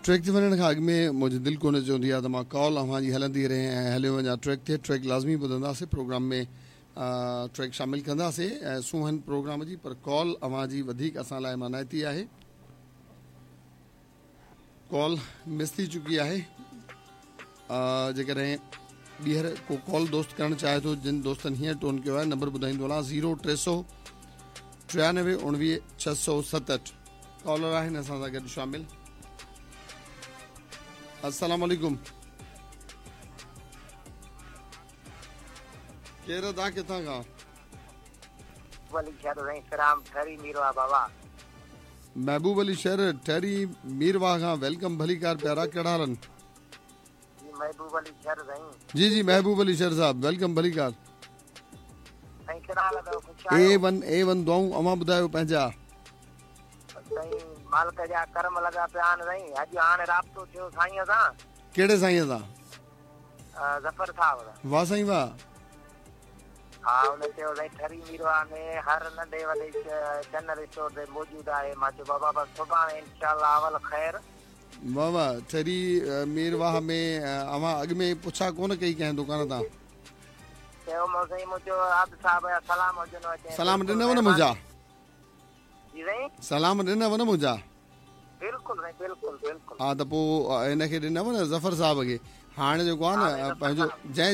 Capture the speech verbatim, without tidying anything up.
Track تي وڃڻ کان اڳ ۾ منهنجي دل ڪونه چوندي آهي ته مان ڪال اوهان جي هلندي رهي ۽ هليو وڃان ٽريڪ تي. ٽريڪ لازمي ٻڌنداسين، پروگرام ۾ ٽريڪ شامل ڪنداسين سونهن پروگرام جي، پر ڪال اوهان جي وڌيڪ اسان لاء مانائتي آهي. ڪال مس ٿي چڪي آهي. جيڪڏهن ٻيهر ڪو ڪال دوست ڪرڻ چاهي ٿو، جن دوستن هينئر ٽون ڪيو آهي، نمبر ٻڌائيندو هلان زيرو ٽي سؤ ٽيانوي اڻويهه ڇهه سؤ ستهٺ. ڪالر آهن اسان سان گڏ شامل. السلام عليڪم، ڪير ادا ڪٿان کان؟ علي شهر سائين سرام ٺري ميرواهه بابا. محبوب علي شهر ٺري ميرواهه کان، welcome, ڀليڪار پيارا، ڪهڙا حال آهن؟ جي محبوب علي شهر سائين. جي جي محبوب علي شهر صاحب welcome, ڀليڪار سائين، ڪهڙا حال اٿو؟ خوش آهيو؟ اي ون اي ون دعائون، اوهان ٻڌايو پنهنجا؟ سائين مالڪ جا ڪرم لڳا پيا آهن سائين. اڄ هاڻي رابطو ٿيو سائين سان. ڪهڙي سائين سان؟ ظفر صاحب سان. واهه سائين واهه. ها ان چيو سائين ٺري ميرواهه ۾ هر ننڍي وڏي جنرل اسٽور تي موجود آهي. مان چيو بابا بس سڀاڻي انشاء الله اول خير. واهه واهه، ٺري ميرواهه ۾ اوهان اڳ ۾ پڇا ڪونه ڪئي ڪنهن دڪان تان؟ چيو مون سائين، مون چيو عابد صاحب جا سلام هجن. سلام ڏنو نه منهنجا؟ جي سائين. سلام ڏنو نه منهنجا؟ بلڪل سائين بلڪل بلڪل. ها ته پوء هن کي ڏنو نه ظفر صاحب کي. هاڻي جيڪو آهي نه پنهنجو جنهن